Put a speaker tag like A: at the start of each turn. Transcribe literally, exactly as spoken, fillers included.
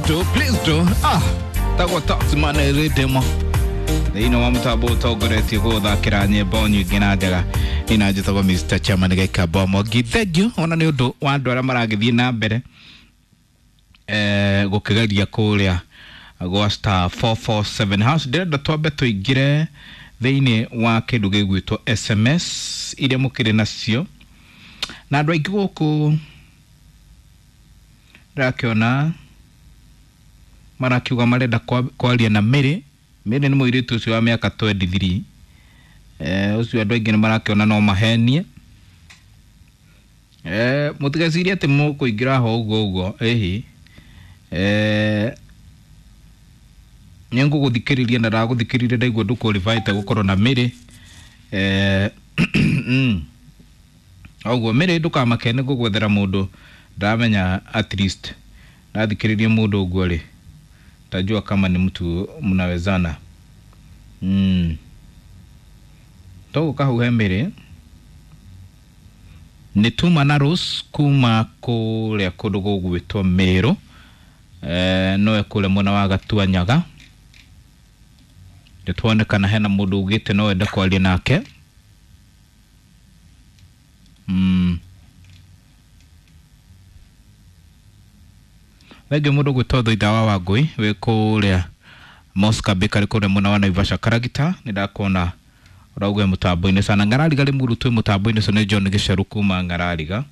A: Please do, please do. Ah, tagwo Taxman Rhythm. Thĩinĩ wa mũtambo ũtongoretie gũthakĩra nyĩmbo nyingĩ na njega ina njĩtagwo Mister Chairman Gĩkamba Mwangi. Thank you ona nĩ ũndũ wa andũ arĩa maragĩthiĩ na mbere eh, gũkĩgeria kũrĩa gwa star four four seven hash. Ndĩrenda twambe tũingĩre thĩinĩ wa kĩndũ gĩgwĩtwo S M S iria mũkĩrĩ nacio na andũ aingĩ gũkũ ndĩrakĩona marakiuga marenda kwaria na Mary. Mary nĩ mũirĩtu ũcio wa mĩaka twenty-three. Eh, ũcio andũ aingĩ nĩ marakĩona no mahenie. Eh, mũtigecirie atĩ mũkũingĩra ho ũguo ũguo, ĩhi. Eh, nĩ ngũgũthikĩrĩria na ndagũthikĩrĩria ndaigua ndũqualifyĩte gũkorwo na Mary. Eh, ũguo Mary ndũkamake nĩ ngũgwethera mũndũ ndamenya at least ndathikĩrĩria mũndũ ũguo rĩ tajua kama ni mtu mnawezana. Mm. Togo kahuhe Mary nĩ tuma na Rose kuma kũrĩa kũndũ gũgwĩtwo Meru. Eh, nowe kũrĩa mwena wa Gatuanyaga. Nĩ tuonekana hena mũndũ ugĩte no ende kwaria nake. Mm. Thengiũ mũndũ gwĩtwo Thoitha wa Wangũi wĩ kũrĩa Mosca Bakery kũrĩa mwena wa Naivasha Karagita. Nĩ ndakuona ũrauga mũtambo-inĩ sana. Ngarariga rĩ mũrutwo mũtambo-inĩ ũcio nĩ John Gĩcaru kuma Ngarariga.